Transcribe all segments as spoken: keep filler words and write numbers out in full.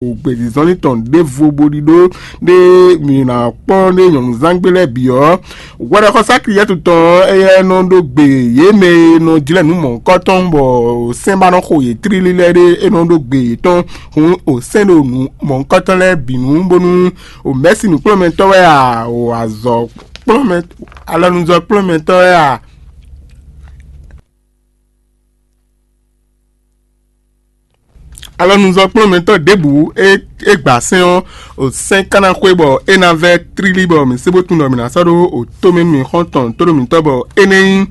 gbězínzɔ́nlin tɔn ɖěvo bo ɖiɖó ɖé mǐ ná kpɔ́n ɖé nyɔ̌nuzángbe lɛ́ɛ bǐ ɔ́, hwɛɖɔxɔsá Kliyɛ́tu tɔn ɔ́, éyɛ́ nɔ ɖó gbe yě mɛ e nɔ jlɛ́ nǔ mɔ̌hunkɔtɔn bɔ sɛ́n ba nɔ xo yě tlílí lɛ́ɛ ɖé, é nɔ ɖó gbe yětɔn. Hǔn o sɛ́n ɖo nǔ mɔ̌hunkɔtɔn lɛ́ɛ bǐ nu, bónú o mɛ̌si nǔkplɔ́nmɛtɔ́ wɛ a, o azɔ̌ kplɔ́nmɛ alɔnuzɔ́ kplɔ́nmɛtɔ́ wɛ a? Alɔnuzɔ́ kplɔ́nmɛtɔ́ ɖěbǔ e é gba sɛ́n ɔ́, o sɛ́n ka ná xwé bɔ é ná vɛ́ tlílí bɔ mǐ sé bó tunwun ɖɔ mǐ ná sɔ́ ɖó o tó mɛ nú mǐ xɔ́ntɔn tóɖó mǐtɔn bɔ é nɛ́ nyí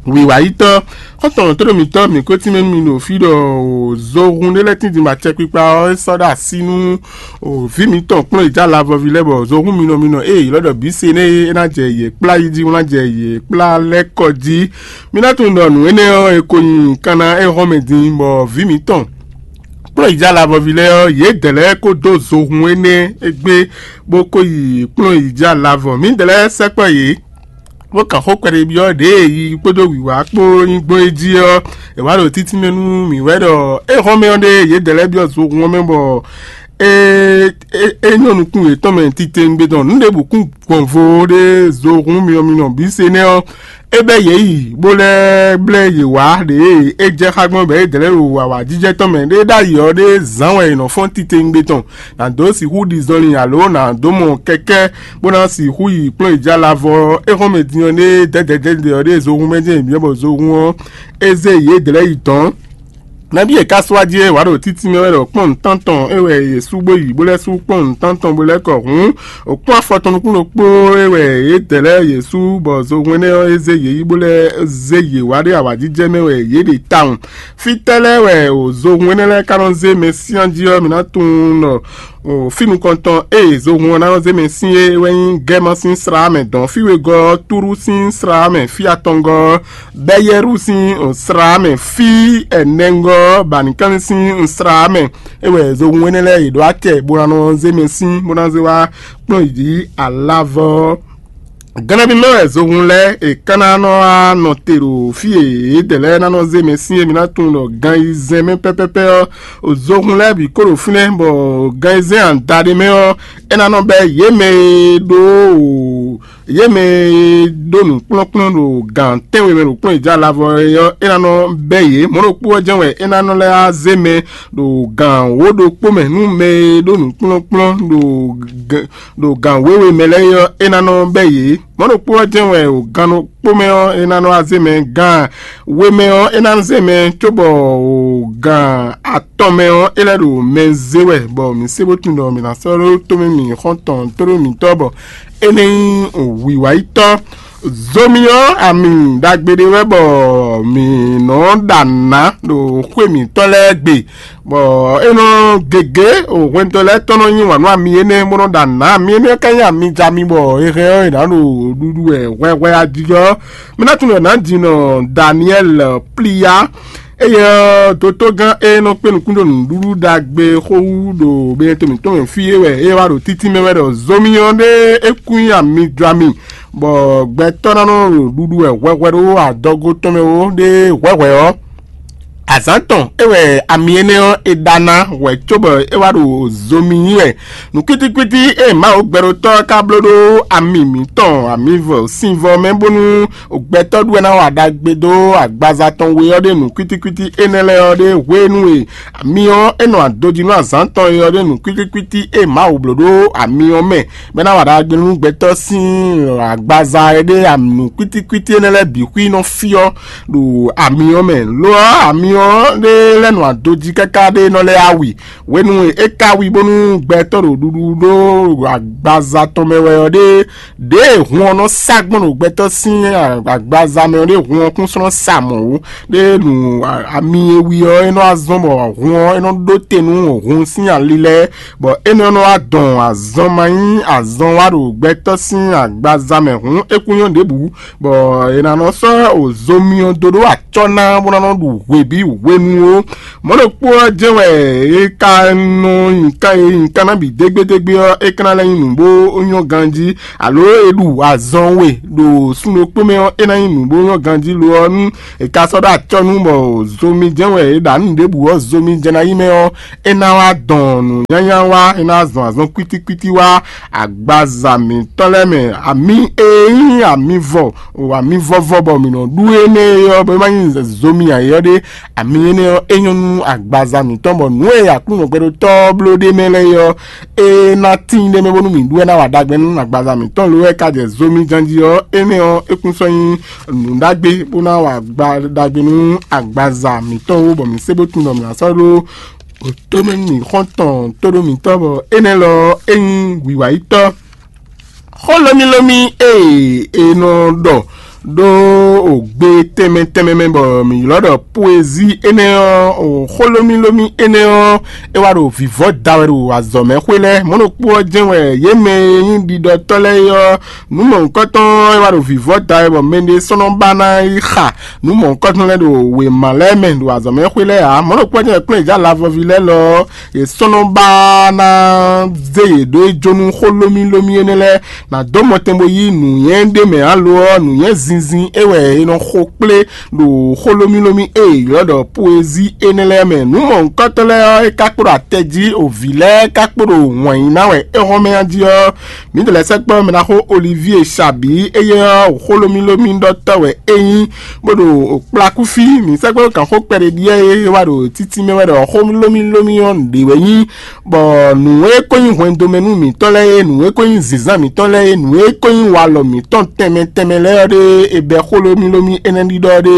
wǐwáyítɔ́. Xɔ́ntɔn tóɖó mǐtɔn mǐ ko tínmɛ nú mi ɖo fí ɖɔ o zohun ɖé lɛ́ɛ tínjin bɔ acɛkpikpa ɔ́ é sɔ́ ɖó así nú o vǐ mǐtɔn kplɔ́n yi já lavɔvi lɛ́ɛ bɔ zohun minɔ minɔ e è ylɔ́ ɖɔ bǐ se nɛ́ é ná jɛ yě kplá yi jí, bó ná jɛ yě kplá lɛ́ kɔ jí. Mi ná tunwun ɖɔ nǔ énɛ́ ɔ́, è ko nyi kanna é hɔn mɛ din, bɔ vǐ mǐtɔn kplɔ́n yi já lavɔvi lɛ́ɛ ɔ́, yědɛɛ lɛ́ɛ ko dó zohun énɛ́ égbé, bó ko yi kplɔ́n yi já lavɔ. Mǐdɛɛ lɛ́ɛ sɛkpɔ́ yě, bó kan xó kpɛɖébyɔ́ ɖě e yi kpódó wǐwá kpó nyí gbɔn é jí ɔ́, è wǎ ɖo títínmɛ nú mǐ wɛ ɖɔ é hɔn mɛ ɔ́ ɖe yědɛɛ lɛ́ɛ byɔ́ zohun ɔ́ mɛ bɔ é é é nyɔ́ nukún yětɔn mɛ titewungbe tɔn nǔ ɖěbǔ kún gbɔn vo ɖé zohun myɔ minɔ bǐ se nɛ́ ɔ́, é bɛ́ yě yi bó lɛ́ blɛ́ yě wá ɖě e é jɛ xá gbɔn bɔ é dlɛ́ ɖo awǎjijɛ tɔn mɛ ɖé ɖ'ayǐ ɔ́ ɖé zǎn wɛ è nɔ fɔ́n titewungbe tɔn, nǎ dó sixú ɖi zɔnlin alo nǎ dó mɔ kɛkɛ́ bó ná sixú yi kplɔ́n yi jɛ alavɔ ɔ́. É xɔ́n mɛ din ɔ́, ɖé dɛ̌dɛ̌dɛ̌dɛ ɔ́ ɖé zohun mɛ jɛ́n yě byɔ́ bɔ zohun ɔ́ é zé yě dlɛ̌ yi dɔ̌n. Nabí è ka sɔ́ wá jí é wǎ ɖo títí mɛ wɛ ɖɔ kpɔ́n nǔtántɔn é wɛ yě sú bó yi bó lɛ́ sú kpɔ́n nǔtántɔn bó lɛ́ kɔ hǔn, o kpɔ́n afɔ tɔn nukún ɖokpó é wɛ yě dɛ lɛ́ɛ yě sú bɔ zohun énɛ́ ɔ́ é zé yě yi bó lɛ́ zé yě wá ɖé awǎjijɛ mɛ wɛ yě ɖe tawun. Fítɛ́ lɛ́ɛ wɛ o zohun énɛ́ lɛ́ɛ ka nɔ zé mɛ syán jí ɔ́, mi ná tunwun ɖɔ o fí nukɔntɔn e zohun ɔ́ ná nɔ zé mɛ sín é wɛ nyí Gɛ́ma sín slá mɛ dɔn fí wegɔ́ ɔ́, Túru sín slá mɛ fí atɔngɔ́ ɔ́, Bɛ́yɛ́ru sín slá mɛ fí ɛnɛngɔ́ ɔ́, Banikánni sín slá mɛ é wɛ zohun énɛ́ lɛ́ɛ yě ɖó acɛ bó ná nɔ zé mɛ sín bó ná zé wá kplɔ́n yě jí alavɔ ɔ́. Gan nabí mɛ wɛ zohun lɛ́ɛ è ka ná nɔ wá nɔ te ɖo fí e yědɛɛ lɛ́ɛ ná nɔ zé mɛ sín é? Mi ná tunwun ɖɔ gan yi zɛn mɛ pɛ́pɛ́pɛ́ ɔ́, zohun lɛ́ɛ bǐ kó ɖo fínɛ́, bɔ gan yi zɛn adaɖé mɛ ɔ́, é ná nɔ bɛ́ yě mɛ e ɖó yě mɛ e ɖó nǔkplɔ́nkplɔ́n ɖo gan tɛ́nwe mɛ ɖo kplɔ́n yi jɛ alavɔ é ɔ́, é ná nɔ bɛ́ yě. Mɔ̌ ɖokpó ɔ́ jɛ́n wɛ é ná nɔ lɛ́ wá zé mɛ ɖo gan wǒ ɖokpó mɛ nú mɛ e ɖó nǔkplɔ́nkplɔ́n ɖo ɖo gan wěwe mɛ lɛ́ɛ é ɔ́, é ná nɔ bɛ́ yě. Mɔ̌ ɖokpó ɔ́ jɛ́n wɛ o gan ɖokpó mɛ ɔ́, é ná nɔ wá zé mɛ, gan we mɛ ɔ́, é ná zé mɛ, cóbɔ o gan atɔn mɛ ɔ́, é lɛ́ ɖo mɛ zé wɛ, bɔ mǐ sé bó tunwun ɖɔ mǐ ná sɔ́ ɖó tómɛ mǐ xɔ́ntɔn tóɖó mǐtɔn bɔ é nɛ́ nyí wǐwáyítɔ́. Zomi ɔ́, ami ɖagbe ɖé wɛ bɔ mǐ nɔ ɖa nǔ ná ɖo xwé mǐtɔn lɛ́ɛ gbe, bɔ é nɔ gěgé o hwɛndo lɛ́ɛ tɔn nɔ yí wǎn nú ami énɛ́ bó nɔ ɖa nǔ ná. Ami énɛ́ ka nyí ami jɛ ami bɔ è hɛn ɔ́ è nǎ ɖo ɖuɖu wɛ hwɛhwɛ ajijɔ. Mi ná tunwun ɖɔ nǎjinɔ Daniɛ́li Pliya, éyɛ́ ɔ́, dotógán e nɔ kpé nukún ɖo nǔɖuɖu ɖagbe xó wú ɖo Benɛto mǐtɔn mɛ fí é wɛ é wá ɖo títí mɛ wɛ ɖɔ zomi ɔ́ ɖé é kún nyí ami jɔ ami, bɔ gbɛtɔ́ ná nɔ ɖo ɖuɖu wɛ hwɛhwɛ ɖó adɔgo tɔn mɛ ó ɖé hwɛhwɛ ɔ́. Azǎn tɔn é wɛ ami énɛ́ ɔ́ è ɖa ná hwɛ̌ cóbɔ é wá ɖo zomi nyí wɛ. Nǔkwítíkwítí e Mawu gbɛɖótɔ́ ɔ́ ka bló ɖó ami mǐtɔn amivɔ sinvɔ mɛ bónú gbɛtɔ́ ɖu wɛ ná wa ɖagbe dó agbaza tɔn we ɔ́ ɖe nǔkwítíkwítí énɛ́ lɛ́ɛ ɔ́ ɖe hwenu e ami ɔ́ é nɔ adojí nú azǎn tɔn e ɔ́ ɖe nǔkwítíkwítí e Mawu bló ɖó ami ɔ́ mɛ, bɔ é ná wa ɖagbe nú gbɛtɔ́ sín agbaza e ɖe nǔkwítíkwítí énɛ́ lɛ́ɛ bǐ xwí nɔ fyɔ́ ɖo ami ɔ́ mɛ. Lo ɔ́, ami ɔ́ ɖe lɛ́ nɔ adojí káká ɖé nɔ lɛ́ awi. Hwenu e é ka wi bónú gbɛtɔ́ ɖo ɖuɖu ɖó agbaza tɔn mɛ wɛ ɔ́ ɖe, ɖěe hun ɔ́ nɔ sa gbɔn ɖo gbɛtɔ́ sín agbaza mɛ ɔ́ ɖe, hun ɔ́ kún sɔ́ nɔ sa mɔ̌ ó. Ɖé nu ami e wi ɔ́, é nɔ wá zɔ́n bɔ hun ɔ́ é nɔ ɖó te nú hun sín ali lɛ́ɛ, bɔ énɛ́ ɔ́ nɔ wá dɔn azɔn ma nyí azɔn wá ɖo gbɛtɔ́ sín agbaza mɛ hǔn é kún nyɔ́ ɖěbǔ, bɔ è nǎ nɔ sɔ́ zomi ɔ́ dó ɖó acɔ́ ná bó ná nɔ ɖu hweví hwenu ó. Mɔ̌ ɖokpó ɔ́ jɛ́n wɛ é ka nɔ nyi kan e nyi kan ná bǐ dégbédégbé ɔ́, é ka ná lɛ́ nyí nǔ bó nyɔ́ ganjí, alo é ɖu azɔn we ɖo sun ɖokpó mɛ ɔ́, é ná nyí nǔ bó nyɔ́ ganjí. Lo ɔ́, nú è ka sɔ́ ɖó acɔ́ nú bɔ zomi jɛ́n wɛ é ɖa nǔ ɖěbǔ ɔ́, zomi jɛ́n ná nyí mɛ ɔ́, é ná wá dɔn nǔ nyanya wá, é ná zɔn azɔn kwítíkwítí wá agbaza mǐtɔn lɛ́ɛ mɛ. Ami e nyí amivɔ, o amivɔvɔ bɔ mǐ nɔ ɖu énɛ́ ɔ́, bɔ é má nyí zomi ǎ é ɔ́ ɖé, ami énɛ́ ɔ́, é nyɔ́ nú agbaza mǐtɔn, bɔ nǔ e Aklúnɔ gbɛɖótɔ́ ɔ́ bló ɖ'é mɛ lɛ́ɛ é ɔ́, é ná tíin ɖ'é mɛ bónú mǐ ɖu wɛ ná wa ɖagbe nú agbaza mǐtɔn. Lo ɛ ka jɛ zomi janjí ɔ́, énɛ́ ɔ́, é kún sɔ́ nyí nǔ ɖagbe bó ná wa agba ɖagbe nú agbaza mǐtɔn ó, bɔ mǐ sé bó tunwun ɖɔ mǐ ná sɔ́ ɖó tomɛ nú mǐ xɔ́ntɔn tóɖó mǐtɔn, bɔ énɛ́ lɔ é nyí wǐwayítɔ́. Xó lómílómí e è nɔ ɖɔ ɖó ògbe tɛnmɛ tɛnmɛ mɛ bɔ mǐ ylɔ́ ɖɔ poezí énɛ́ ɔ́, o xó lómílómí énɛ́ ɔ́, é wá ɖo vǐvɔ́ da wɛ ɖo azɔ̌ mɛ xwé lɛ́ɛ. Mɔ̌ ɖokpó ɔ́ jɛ́n wɛ yě mɛ e nyí ɖiɖɔtɔ́ lɛ́ɛ é ɔ́, nǔ mɔ̌hunkɔtɔn ɔ́, é wá ɖo vǐvɔ́ da wɛ bɔ mɛɖé sɔ́ nɔ ba ná yi xa nǔ mɔ̌hunkɔtɔn lɛ́ɛ ɖo wěma lɛ́ɛ mɛ ɖo azɔ̌ mɛ xwé lɛ́ɛ ǎ. Mɔ̌ ɖokpó ɔ́ jɛ́n wɛ kplɔ́nyijǐ alavɔví lɛ́ɛ lɔ ɔ́, yě sɔ́ nɔ ba ná zé yě ɖó yi jó nú xó lómílómí énɛ́ lɛ́ɛ, nǎ dó mɔtɛn bó yí nǔnywɛ́ ɖé mɛ ǎ lo ɔ́, nǔnywɛ́ zinzin é wɛ è nɔ xo kplé ɖo xó lómílómí e è ylɔ́ ɖɔ poezí énɛ́ lɛ́ɛ mɛ. Nǔ mɔ̌hunkɔtɔn lɛ́ɛ ɔ́, é ka kpo ɖo atɛ jí, o vǐ lɛ́ɛ ka kpo ɖo wǎn yí ná wɛ é hɔn mɛ jí ɔ́, mǐ dó lɛ́ sɛkpɔ́ mɛɖaxó Olivíe Sabǐ, éyɛ́ ɔ́, xó lómílómí ɖɔtɔ́ wɛ é nyí, bó ɖo kplakúfí. Mǐ sɛkpɔ́ ɖó gǎnxó kpɛɖé ɖíe é wá ɖo títí mɛ wɛ ɖɔ xó lómílómí ɔ́ nǔɖé wɛ nyí, bɔ nǔ e ko nyí hwɛndo mɛ nú mǐtɔn lɛ́ɛ é, nǔ e ko nyí zǐnzán mǐtɔn lɛ́ɛ é, nǔ e ko nyí walɔ mǐtɔn tɛnmɛ tɛnmɛ lɛ́ɛ ɔ́ ɖé, è bɛ́ xó lómílómí énɛ́ ɖiɖɔ ɖé,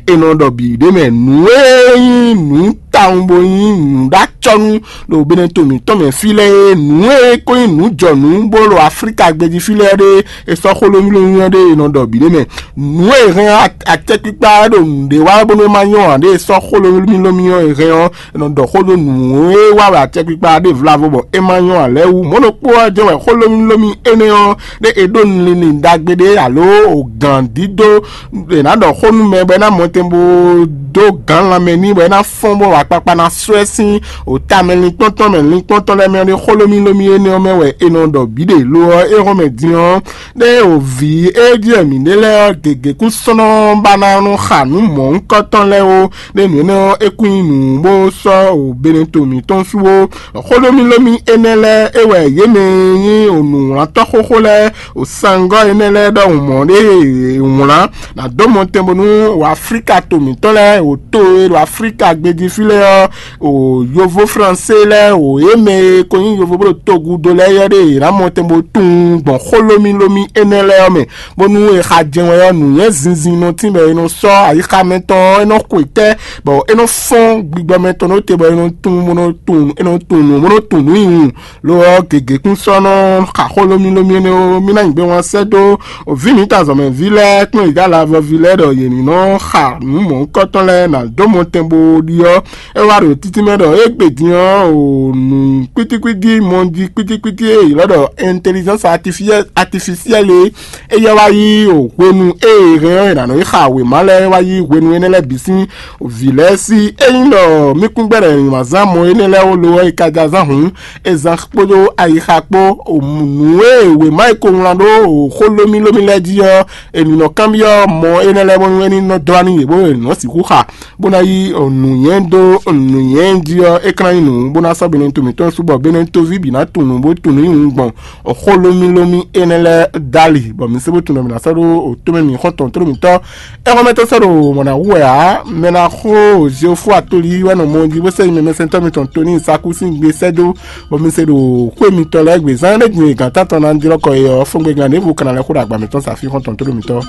è nɔ ɖɔ bǐ ɖ'é mɛ. Nǔ e nyí nǔ tawun bó nyí nǔɖácɔ́nú ɖo Benɛto mǐtɔn mɛ fí lɛ́ɛ é, nǔ e ko nyí nǔjɔnǔ bó ɖo Aflíka gbéjí fí lɛ́ɛ ɖé, è sɔ́ xó lómílómí ɔ́ ɖé è nɔ ɖɔ bǐ ɖ'é mɛ. Nǔ e hɛn acɛkpikpa ɖo nǔɖé wa bónú é má nyɔ́ ǎ ɖé, è sɔ́ xó lómílómí ɔ́ è hɛn ɔ́, è nɔ ɖɔ xó ɖó nǔ e wa wɛ acɛkpikpa ɖe vlavo bɔ é ma nyɔ́ ǎ lɛ́ɛ wú. Mɔ̌ ɖokpó ɔ́ jɛ́n wɛ xó lómílómí énɛ́ ɔ́ ɖé è ɖó linlin ɖagbe ɖé alo gǎn dídó è nǎ ɖɔ xó nú mɛ bɔ é ná mɔtɛn bó dó gǎn lanmɛ n'i bɔ é ná fɔ́n bɔ akpakpa ná sɔ́ ɛ sín o tamɛ linkpɔ́ntɔn mɛ linkpɔ́ntɔn lɛ́ɛ mɛ ɔ́ ɖé. Xó lómílómí énɛ́ ɔ́ mɛ wɛ è nɔ ɖɔ bǐ ɖe lo ɔ́, é hɔn mɛ din ɔ́, ɖé o vǐ e jɛ mǐ ɖe lɛ́ɛ ɔ́ gěgé kún sɔ́ nɔ ba ná nɔ xa nǔ mɔ̌hunkɔtɔn lɛ́ɛ ó. Ɖé nǔ énɛ́ ɔ́, é kún nyí nǔ bó sɔ́ o Benɛto mǐtɔn sú ó. Xó lómílómí énɛ́ lɛ́ɛ é wɛ yě mɛ e nyí o nǔwlantɔ́ xóxó lɛ́ɛ o sangɔ́ énɛ́ lɛ́ɛ ɖɔhun mɔ̌ ɖé wlán ná dó mɔtɛn bónú o Aflíka to mǐtɔn lɛ́ɛ o to e ɖo Aflíka gbéjí fí lɛ́ɛ ɔ́, o yovó fransé lɛ́ɛ o yě mɛ e ko nyí yovó bó ɖo togudo lɛ́ɛ yɔ́ ɖé yě ná mɔtɛn bó tunwun gbɔn xó lómílómí énɛ́ lɛ́ɛ ɔ́ mɛ, bónú è xa jɛ́n wɛ ɔ́, nǔnywɛ́ zinzin nɔ tín bɔ è nɔ sɔ́ ayixa mɛtɔn ɔ́, é nɔ xwe tɛ́, bɔ é nɔ fɔ́n gbigbɔ mɛtɔn ɖó te, bɔ è nɔ tunwun bó nɔ tunwun, é nɔ tunwun nǔ bó nɔ tunwun nǔ nyi wun. Lo ɔ́, gěgé kún sɔ́ nɔ xa xó lómílómí énɛ́ ó. Mí ná nyi gbé wán sɛ́ dó vǐ mǐtɔn azɔ̌mɛví lɛ́ɛ kplɔ́n yě dó alavɔví lɛ́ɛ ɖɔ yě ní nɔ xa nǔ mɔ̌hunkɔtɔn lɛ́ɛ ná dó mɔtɛn bó ɖi ɔ́, é wá ɖo títí mɛ ɖɔ égbé din ɔ́, o nǔ kpítíkpítí mɔ jí kpítíkpítí e è ylɔ́ ɖɔ intelligence artificielle é, é yɛ wá yí o hwenu e è hɛn ɔ́, è nǎ nɔ yi xa wěma lɛ́ɛ wá yí hwenu énɛ́ lɛ́ɛ bǐ sín vǐ lɛ́ɛ sí. Ényí ɖɔ mí kún gbɛ́ ɖɔ è nǐ wá zán mɔ énɛ́ lɛ́ɛ ó lo ɔ́, è ka ja zán hǔn, è zán kpódó ayixa kpó. Nǔ e wěma e ko wlán ɖó xó lómílómí lɛ́ɛ jí ɔ́, è nǐ nɔ kanbyɔ́ mɔ énɛ́ lɛ́ɛ bónú é ní nɔ dɔ́ wá nú yě bó è nǐ nɔ sixú xa, bó ná yí nǔnywɛ́ dó nǔnywɛ́ jí ɔ́, é ka ná nyí nǔ bó ná sɔ́ Benɛto mǐtɔn sú bɔ Benɛtoví bǐ ná tunwun nǔ bó tunwun nǔ nyi wun gbɔn xó lómílómí énɛ́ lɛ́ɛ dali, bɔ mi se bó tunwun ɖɔ mi ná sɔ́ ɖó o tómɛ mi xɔ́ntɔn tló mitɔn. Ɛhɔn mɛ tɔn sɔ́ ɖo mɔ̌ ná hu wɛ ǎ, mɛ ná xo Zeofu atoli wɛ nɔ mɔ jí bó sɛ́ nyi mɛ mɛsɛntɔ́ mitɔn Toni Saku sín gbe sɛ́ dó, bɔ mi se ɖo xwé mitɔn lɛ́ɛ gbe zán ɖé din e gǎn tántɔn ná jlɔ́ kɔ é ɔ́, fɔ́ngbɛ́gán ɖěvo ka ná lɛ́ xó ɖo agba mǐtɔn sa fí xɔ́ntɔn tló mitɔn.